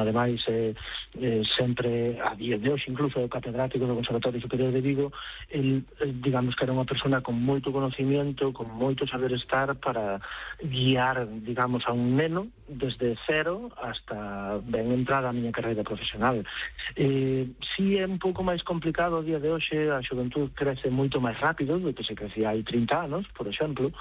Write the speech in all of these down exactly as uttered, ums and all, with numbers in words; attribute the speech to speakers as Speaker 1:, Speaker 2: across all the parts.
Speaker 1: ademais é eh, sempre, a día de hoxe, incluso o catedrático do Conservatorio Superior de Vigo, el, digamos que era unha persona con moito conocimiento, con moito saber estar para guiar, digamos, a un neno desde cero hasta ben entrada a miña carreira profesional. Eh, si é un pouco máis complicado a día de hoxe, a xuventud crece moito máis rápido do que se crecía hai trinta anos, por exemplo.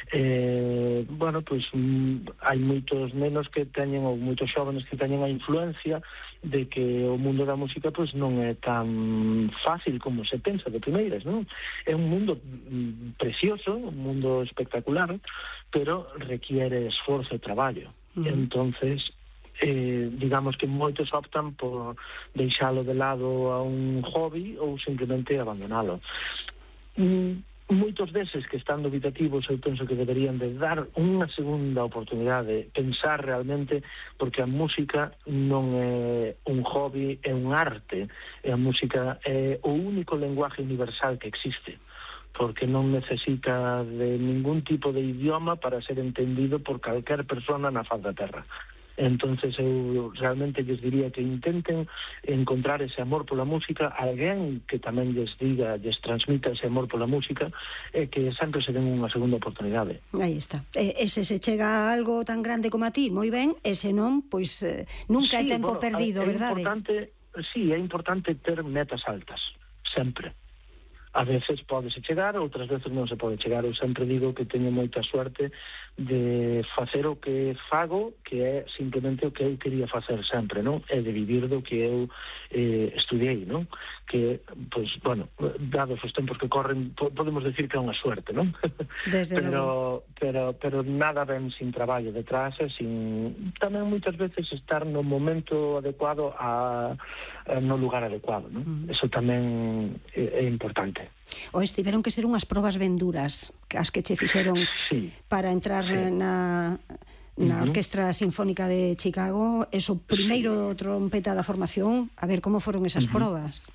Speaker 1: Eh, bueno, pois mm, hai moitos nenos que teñen, ou moitos xóvenes que teñen a influencia de que o mundo da música pois non é tan fácil como se pensa de primeiras, non? É un mundo mm, precioso, un mundo espectacular, pero requiere esforzo e traballo. Mm. Entonces, eh, digamos que moitos optan por deixalo de lado a un hobby ou simplemente abandonalo. Mm, moitos deses que están dubitativos, eu penso que deberían de dar unha segunda oportunidade, pensar realmente, porque a música non é un hobby, é un arte, e a música é o único lenguaje universal que existe, porque non necesita de ningún tipo de idioma para ser entendido por calquer persona na faz da terra. Entonces eu realmente lles diría que intenten encontrar ese amor pola música, alguén que tamén lles diga, lles transmita ese amor pola música, e que sempre se den unha segunda oportunidade.
Speaker 2: Aí está. E, ese se chega a algo tan grande como a ti, moi ben, ese non, pois eh, nunca sí, é tempo bueno, perdido, é verdade?
Speaker 1: Importante, sí, é importante ter metas altas, sempre. A veces pódese chegar, outras veces non se pode chegar. Eu sempre digo que teño moita suerte de facer o que fago, que é simplemente o que eu quería facer sempre, non? É de vivir do que eu eh, estudiei, non? Que, pois, bueno, dados os tempos que corren, podemos decir que é unha suerte, non?
Speaker 2: Desde
Speaker 1: pero, pero, pero nada ben sin traballo detrás, e sin tamén moitas veces estar no momento adecuado a, a no lugar adecuado, non? Mm. Eso tamén é, é importante.
Speaker 2: O estiveron que ser unhas probas ben duras as que che fixeron sí, para entrar sí. na, na uh-huh. Orquestra Sinfónica de Chicago. Eso, primeiro sí. trompeta da formación, a ver como foron esas uh-huh. probas.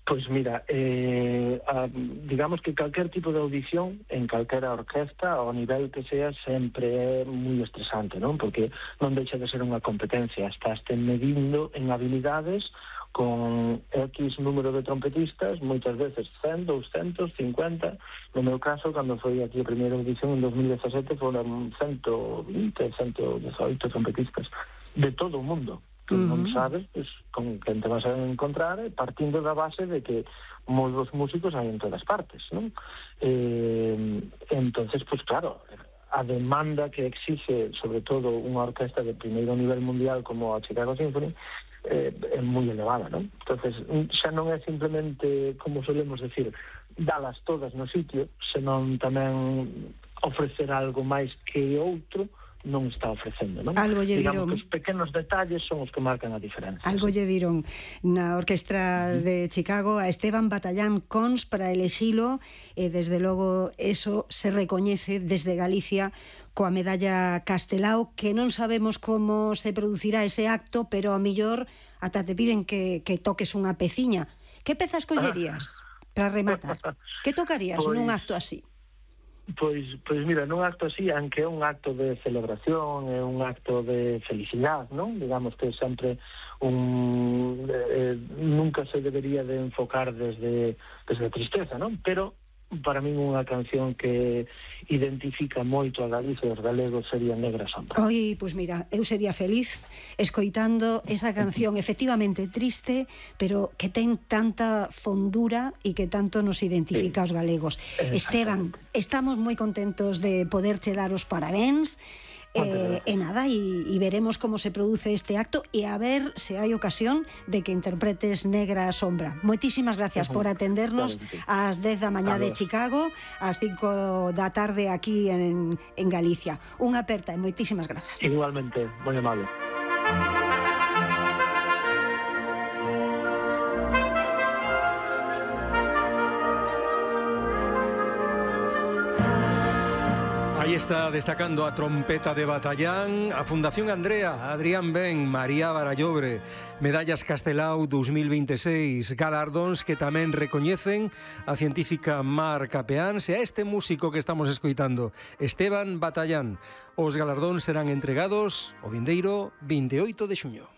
Speaker 1: Pois mira, eh, a, digamos que calquer tipo de audición en calquera orquesta, ao nivel que sea, sempre é moi estresante, non? Porque non deixa de ser unha competencia, estás te medindo en habilidades con X número de trompetistas, moitas veces cen, doscientos, cincuenta. No meu caso, cando foi aquí a primeira audición en dos mil dezasete, foron ciento vinte, ciento dezaoito trompetistas de todo o mundo, que uh-huh. non sabes pues, con quen te vas a encontrar, partindo da base de que moitos músicos hai en todas partes, non? Eh, entonces, pues claro, a demanda que exixe, sobre todo, unha orquesta de primeiro nivel mundial como a Chicago Symphony, eh, é moi elevada, non? Entonces, xa non é simplemente, como solemos decir, dalas todas no sitio, senón tamén ofrecer algo máis que outro non está ofrecendo, non?
Speaker 2: Algo lle viron.
Speaker 1: Digamos que os pequenos detalles son os que marcan a diferencia.
Speaker 2: Algo lle viron na Orquestra uh-huh. de Chicago a Esteban Batallán Cons para elexilo, e desde logo eso se recoñece desde Galicia coa medalla Castelao, que non sabemos como se producirá ese acto, pero a millor ata te piden que, que toques unha peciña. Que pezas collerías para rematar? Que tocarías pues... nun acto así?
Speaker 1: Pois, pois mira, nun acto así, aunque é un acto de celebración, é un acto de felicidade, non? Digamos que sempre un eh, nunca se debería de enfocar desde, desde a tristeza, non? Pero para min unha canción que identifica moito a Galicia e os galegos sería Negra Sombra.
Speaker 2: Oi, pois mira, eu sería feliz escoitando esa canción efectivamente triste, pero que ten tanta fondura e que tanto nos identifica sí. aos galegos. Esteban, estamos moi contentos de poderche dar os parabéns. Eh, e nada, e veremos como se produce este acto e a ver se hai ocasión de que interpretes Negra Sombra. Moitísimas gracias uh-huh. por atendernos ás dez da mañá de Chicago, ás cinco da tarde aquí en, en Galicia. Unha aperta e moitísimas grazas.
Speaker 1: Igualmente, moi amable.
Speaker 3: Aí está destacando a trompeta de Batallán, a Fundación Andrea, Adrián Ben, María Barallobre, Medallas Castelao dos mil veintiséis, galardóns que tamén recoñecen a científica Mar Capeáns e a este músico que estamos escoitando, Esteban Batallán. Os galardóns serán entregados o vindeiro vinte e oito de xuño.